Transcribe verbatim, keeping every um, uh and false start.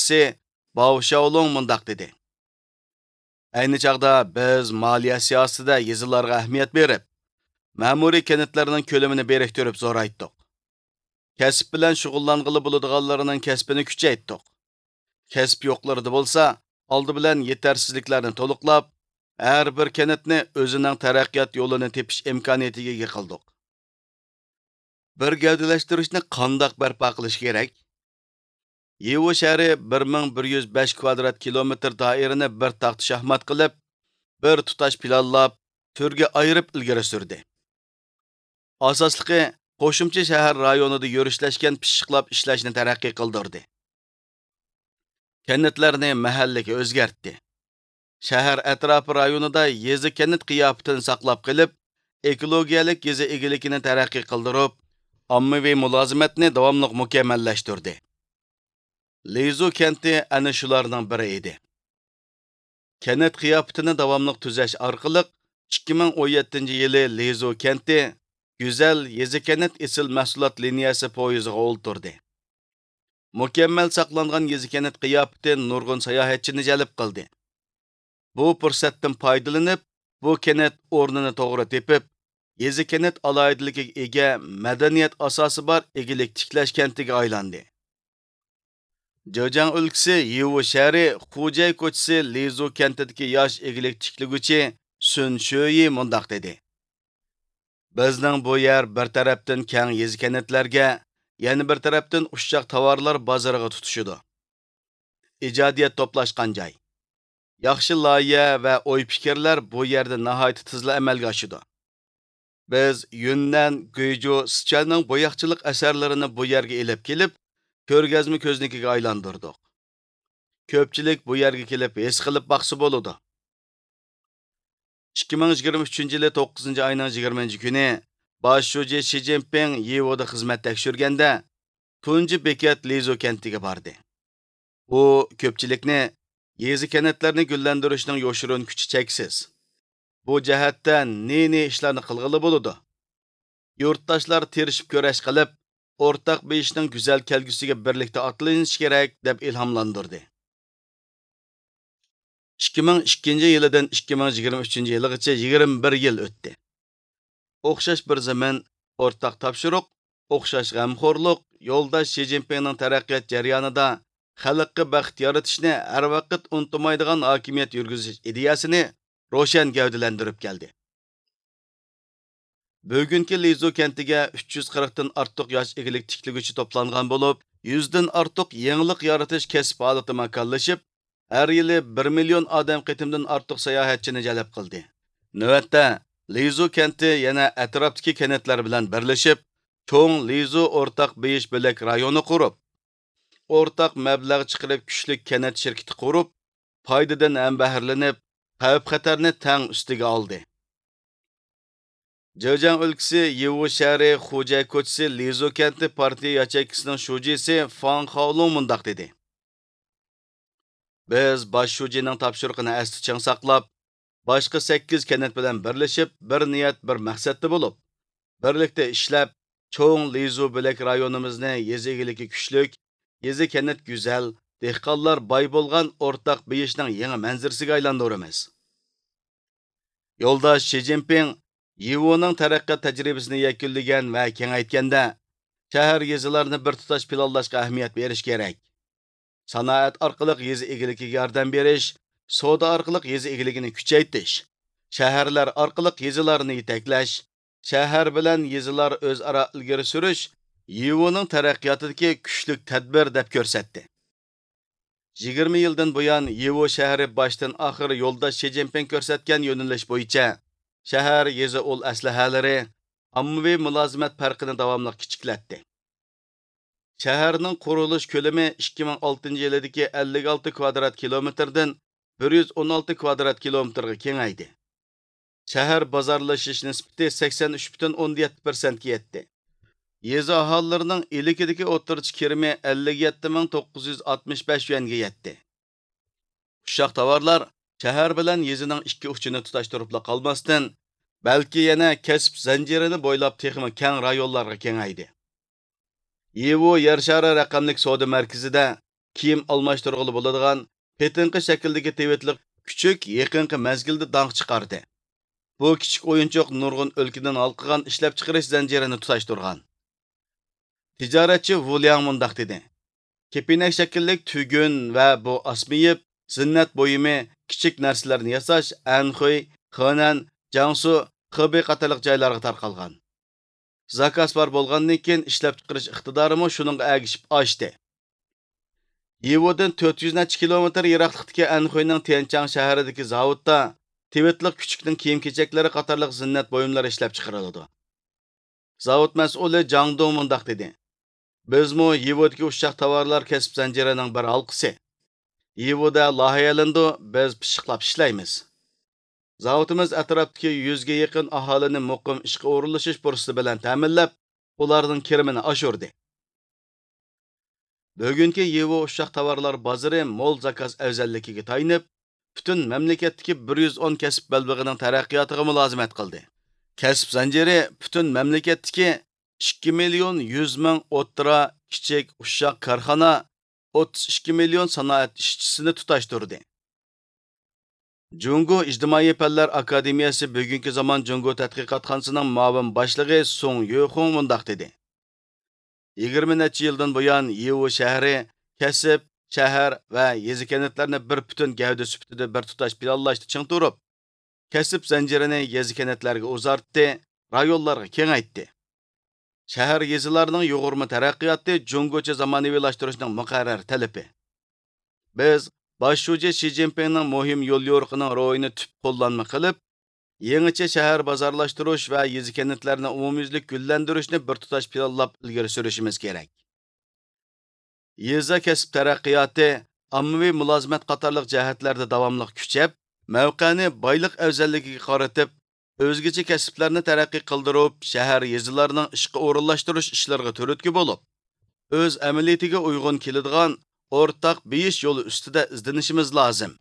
يېتەكچىسى باۋ شياۋلۇڭ مۇنداق دېدى: ئەينى چاغدا بىز مالىيە سىياسىتىدە يېزىلارغا ئەھمىيەت بېرىپ، مەمۇرىي كەنتلەرنىڭ كۆلىمىنى بىرىكتۈرۈپ زورايتتۇق. كەسىپ بىلەن شۇغۇللانغىلى بولىدىغانلارنىڭ كەسپىنى كۈچەيتتۇق. كەسىپ يوقلىرىدا بولسا، ئالدى بىلەن يېتەرسىزلىكلەرنى تولۇقلاپ، ھەر بىر كەنتنى ئۆزىنىڭ تەرەققىيات يولىنى تېپىش ئىمكانىيىتىگە ئىگە قىلدۇق. بىر گەۋدىلەشتۈرۈشنى قانداق بەرپا قىلىش كېرەك؟ يىۋۇ شەھىرى بىر مىڭ بىر يۈز بەش كۋادرات كىلومېتىر دائىرىنى بىر تاختا شاھمات قىلىپ، بىر تۇتاش پىلانلاپ، تۈرگە ئايرىپ ئىلگىرى سۈردى. ئاساسلىقى، قوشۇمچە شەھەر رايونىدا يۈرۈشلەشكەن پىششىقلاپ ئىشلەشنى تەرەققىي قىلدۇردى. كەنتلەرنى مەھەللىگە ئۆزگەرتتى. شەھەر ئەتراپى رايونىدا يېزا كەنت قىياپىتىنى ساقلاپ قېلىپ، ئېكولوگىيەلىك يېزا ئىگىلىكىنى تەرەققىي قىلدۇرۇپ، ئاممىۋى مۇلازىمەتنى داۋاملىق مۇكەممەللەشتۈردى. لىزۇ كەنتى ئەنە شۇلارنىڭ بىرى ئىدى. كەنت قىياپىتىنى داۋاملىق تۈزەش ئارقىلىق، ئىككى مىڭ ئون يەتتىنچى يىلى لىزۇ كەنتى گۈزەل يېزا كەنت ئېسىل مەھسۇلات لىنىيەسى پويىزىغا ئولتۇردى. مۇكەممەل ساقلانغان يېزا كەنت قىياپىتى نۇرغۇن ساياھەتچىنى جەلپ قىلدى. بۇ پۇرسەتتىن پايدىلىنىپ، بۇ كەنت ئورنىنى توغرا تېپىپ، يېزا كەنت ئالاھىدىلىكىگە ئىگە، مەدەنىيەت ئاساسى بار ئىگىلىك تىكلەش كەنتىگە ئايلاندى. جېجياڭ ئۆلكىسى يىۋۇ شەھىرى خۇجەي كوچىسى لىزۇ كەنتىدىكى ياش ئىگىلىك تىكلىگۈچى سۈن شۆيى مۇنداق دېدى: بىزنىڭ بۇ يەر بىر تەرەپتىن كەڭ يېزا كەنتلەرگە، يەنە بىر تەرەپتىن ئۇششاق تاۋارلار بازىرىغا تۇتىشىدۇ. ئىجادىيەت توپلاشقان جاي. ياخشى لايىھە ۋە ئوي-پىكىرلەر بۇ يەردە ناھايىتى تېزلا ئەمەلگە ئاشىدۇ. بىز يۈننەن، گۇيجۇ، سىچۈەننىڭ بوياقچىلىق ئەسەرلىرىنى بۇ يەرگە ئېلىپ كېلىپ، كۆرگەزمە كۆزنىكىگە ئايلاندۇردۇق. كۆپچىلىك بۇ يەرگە كېلىپ ھېس قىلىپ باقسا بولىدۇ. ئىككى مىڭ يىگىرمە ئۈچىنچى يىلى توققۇزىنچى ئاينىڭ يىگىرمىنچى كۈنى باش شۇجى شى جىنپىڭ يىۋۇدا خىزمەت تەكشۈرگەندە، تۇنجى بېكەت لىزۇ كەنتىگە باردى. ئۇ كۆپچىلىكنى يېزا-كەنتلەرنى گۈللەندۈرۈشنىڭ يوشۇرۇن كۈچى چەكسىز. بۇ جەھەتتە نى-نى ئىشلارنى قىلغىلى بولىدۇ. يۇرتداشلار تىرىشىپ كۈرەش قىلىپ، ئورتاق بېيىشنىڭ گۈزەل كەلگۈسىگە بىرلىكتە ئاتلىنىش كېرەك، دەپ ئىلھاملاندۇردى. ئىككى مىڭ ئىككىنچى يىلىدىن ئىككى مىڭ يىگىرمە ئۈچىنچى يىلىغىچە يىگىرمە بىر يىل ئۆتتى. ئوخشاش بىر زېمىن، ئورتاق تاپشۇرۇق، ئوخشاش غەمخورلۇق يولداش شى جىنپىڭنىڭ تەرەققىيات جەريانىدا خەلققە بەخت يارىتىشنى ھەر ۋاقىت ئۇنتۇمايدىغان ھاكىمىيەت يۈرگۈزۈش ئىدىيەسىنى روشەن گەۋدىلەندۈرۈپ كەلدى. بۈگۈنكى لىزۇ كەنتىگە ئۈچ يۈز قىرىقتىن ئارتۇق ياش ئىگىلىك تىكلىگۈچى توپلانغان بولۇپ، يۈزدىن ئارتۇق يېڭىلىق يارىتىش كەسىپ ھالىتى ماكانلىشىپ، ھەر يىلى بىر مىليون ئادەم قېتىمدىن ئارتۇق ساياھەتچىنى جەلپ قىلدى. نۆۋەتتە، لىزۇ كەنتى يەنە ئەتراپتىكى كەنتلەر بىلەن بىرلىشىپ، چوڭ لىزۇ ئورتاق بېيىش بۆلەك رايونى قۇرۇپ، ئورتاق مەبلەغ چىقىرىپ كۈچلۈك كەنت شىركىتى قۇرۇپ، پايدىدىن ھەمبەھىرلىنىپ، خەۋپ-خەتەرنى تەڭ ئۈستىگە ئالدى. جېجياڭ ئۆلكىسى يىۋۇ شەھىرى خۇجەي كوچىسى لىزۇ كەنتى پارتىيە ياچېيكىسىنىڭ شۇجىسى فاڭ خاۋلۇڭ مۇنداق دېدى: بىز باش شۇجىنىڭ تاپشۇرۇقىنى ئەستە چىڭ ساقلاپ، باشقا سەككىز كەنت بىلەن بىرلىشىپ، بىر نىيەت، بىر مەقسەتتە بولۇپ، بىرلىكتە ئىشلەپ، چوڭ لىزۇ بۆلەك رايونىمىزنى يېزا ئىگىلىكى كۈچلۈك، يېزا كەنت گۈزەل، دېھقانلار باي بولغان ئورتاق بېيىشنىڭ يېڭى مەنزىرىسىگە ئايلاندۇرىمىز. يولداش شى جىنپىڭ يىۋۇنىڭ تەرەققىيات تەجرىبىسىنى يەكۈنلىگەن ۋە كېڭەيتكەندە، شەھەر، يېزىلارنى بىر تۇتاش پىلانلاشقا ئەھمىيەت بېرىش كېرەك. سانائەت ئارقىلىق يېزا ئىگىلىكىگە ياردەم بېرىش، سودا ئارقىلىق يېزا ئىگىلىكىنى كۈچەيتىش، شەھەرلەر ئارقىلىق يېزىلارنى يېتەكلەش، شەھەر بىلەن يېزىلار ئۆزئارا ئىلگىرى سۈرۈش يىۋۇنىڭ تەرەققىياتىدىكى كۈچلۈك تەدبىر، دەپ كۆرسەتتى. يىگىرمە يىلدىن بۇيان، يىۋۇ شەھىرى باشتىن ئاخىر يولداش شى جىنپىڭ كۆرسەتكەن يۆنىلىش بويىچە شەھەر، يېزا ئۇل ئەسلىھەلىرى، ئاممىۋى مۇلازىمەت پەرقىنى داۋاملىق كىچىكلەتتى. شەھەرنىڭ قۇرۇلۇش كۆلىمى ئىككى مىڭ ئالتىنچى يىلىدىكى ئەللىك ئالتە كۋادرات كىلومېتىردىن بىر يۈز ئون ئالتە كۋادرات كىلومېتىرغا كېڭەيدى. شەھەر بازارلىشىش نىسبىتى سەكسەن ئۈچ پۈتۈن ئوندىن يەتتە پىرسەنتكە يەتتى. يېزا ئاھالىلىرىنىڭ ئىلكىدىكى ئوتتۇرىچە كىرىمى ئەللىك يەتتە مىڭ توققۇز يۈز ئاتمىش بەش يۈەنگە يەتتى. ئۇششاق تاۋارلار شەھەر بىلەن يېزىنىڭ ئىككى ئۇچىنى تۇتاشتۇرۇپلا قالماستىن، بەلكى يەنە كەسىپ زەنجىرىنى بويلاپ تېخىمۇ كەڭ رايونلارغا كېڭەيدى. يىۋۇ يەر شارى رەقەملىك سودا مەركىزىدە كىيىم ئالماشتۇرغىلى بولىدىغان قېتىمقى شەكىلدىكى تىۋىتلىق كۈچۈك يېقىنقى مەزگىلدە داڭ چىقاردى. بۇ كىچىك ئويۇنچۇق نۇرغۇن ئۆلكىدىن ھالقىغان ئىشلەپچىقىرىش زەنجىرىنى تۇتاشتۇرغان. تىجارەتچى ۋۇ لياڭ مۇنداق دېدى: كېپىنەك شەكىللىك تۈگۈن ۋە بۇ ئاسما يىپ، زىننەت بۇيۇمى، كىچىك نەرسىلەرنى ياساش ئەنخۇي، خېنەن، جياڭسۇ، خېبېي قاتارلىق جايلارغا تارقالغان. زاكاز بار بولغاندىن كېيىن، ئىشلەپچىقىرىش ئىقتىدارىمۇ شۇنىڭغا ئەگىشىپ ئاشتى. يىۋۇدىن تۆت يۈز نەچچە كىلومېتىر يىراقلىقتىكى ئەنخۇينىڭ تيەنچاڭ شەھىرىدىكى زاۋۇتتا تىۋىتلىق كۈچۈكنىڭ كىيىم-كېچەكلىرى قاتارلىق زىننەت بۇيۇملىرى ئىشلەپچىقىرىلىدۇ. زاۋۇت مەسئۇلى جاڭ دۇڭ مۇنداق دېدى: بىزمۇ يىۋۇدىكى ئۇششاق تاۋارلار كەسىپ زەنجىرىنىڭ بىر ھالقىسى. يىۋۇدا لايىھەلىنىدۇ، بىز پىششىقلاپ ئىشلەيمىز. زاۋۇتىمىز ئەتراپتىكى يۈزگە يېقىن ئاھالىنى مۇقىم ئىشقا ئورۇنلىشىش پۇرسىتى بىلەن تەمىنلەپ، ئۇلارنىڭ كىرىمىنى ئاشۇردى. بۈگۈنكى يىۋۇ ئۇششاق تاۋارلار بازىرى مول زاكاز ئەۋزەللىكىگە تايىنىپ، پۈتۈن مەملىكەتتىكى بىر يۈز ئون كەسىپ بەلبېغىنىڭ تەرەققىياتىغا مۇلازىمەت قىلدى. كەسىپ زەنجىرى پۈتۈن مەملىكەتتىكى ئىككى مىليون يۈز مىڭ ئوتتۇرا، كىچىك، ئۇششاق كارخانا، ئوتتۇز ئىككى مىليون سانائەت ئىشچىسىنى تۇتاشتۇردى. جۇڭگو ئىجتىمائىي پەنلەر ئاكادېمىيەسى بۈگۈنكى زامان جۇڭگو تەتقىقاتخانىسىنىڭ مۇئاۋىن باشلىقى سۇڭ يۆخۇڭ مۇنداق دېدى: يىگىرمە نەچچە يىلدىن بۇيان، يىۋۇ شەھىرى كەسىپ، شەھەر ۋە يېزا-كەنتلەرنى بىر پۈتۈن گەۋدە سۈپىتىدە بىر تۇتاش پىلانلاشتا چىڭ تۇرۇپ، كەسىپ زەنجىرىنى يېزا-كەنتلەرگە ئۇزارتتى، رايونلارغا كېڭەيتتى. شەھەر، يېزىلارنىڭ يۇغۇرما تەرەققىياتى جۇڭگوچە زامانىۋىلاشتۇرۇشنىڭ مۇقەررەر تەلىپى. بىز باش شۇجى شى جىنپىڭنىڭ مۇھىم يوليورۇقىنىڭ روھىنى تۈپ قوللانما قىلىپ، يېڭىچە شەھەر بازارلاشتۇرۇش ۋە يېزا-كەنتلەرنى ئومۇميۈزلۈك گۈللەندۈرۈشنى بىر تۇتاش پىلانلاپ ئىلگىرى سۈرۈشىمىز كېرەك. يېزا كەسىپ تەرەققىياتى، ئاممىۋى مۇلازىمەت قاتارلىق جەھەتلەردە داۋاملىق كۈچەپ، مەۋقەنى بايلىق ئەۋزەللىكىگە قارىتىپ، ئۆزگىچە كەسىپلەرنى تەرەققىي قىلدۇرۇپ، شەھەر، يېزىلارنىڭ ئىشقا ئورۇنلاشتۇرۇش ئىشلىرىغا تۈرتكە بولۇپ، ئۆز ئەمەلىيىتىگە ئۇيغۇن كېلىدىغان ئورتاق بېيىش يولى ئۈستىدە ئىزدىنىشىمىز لازىم.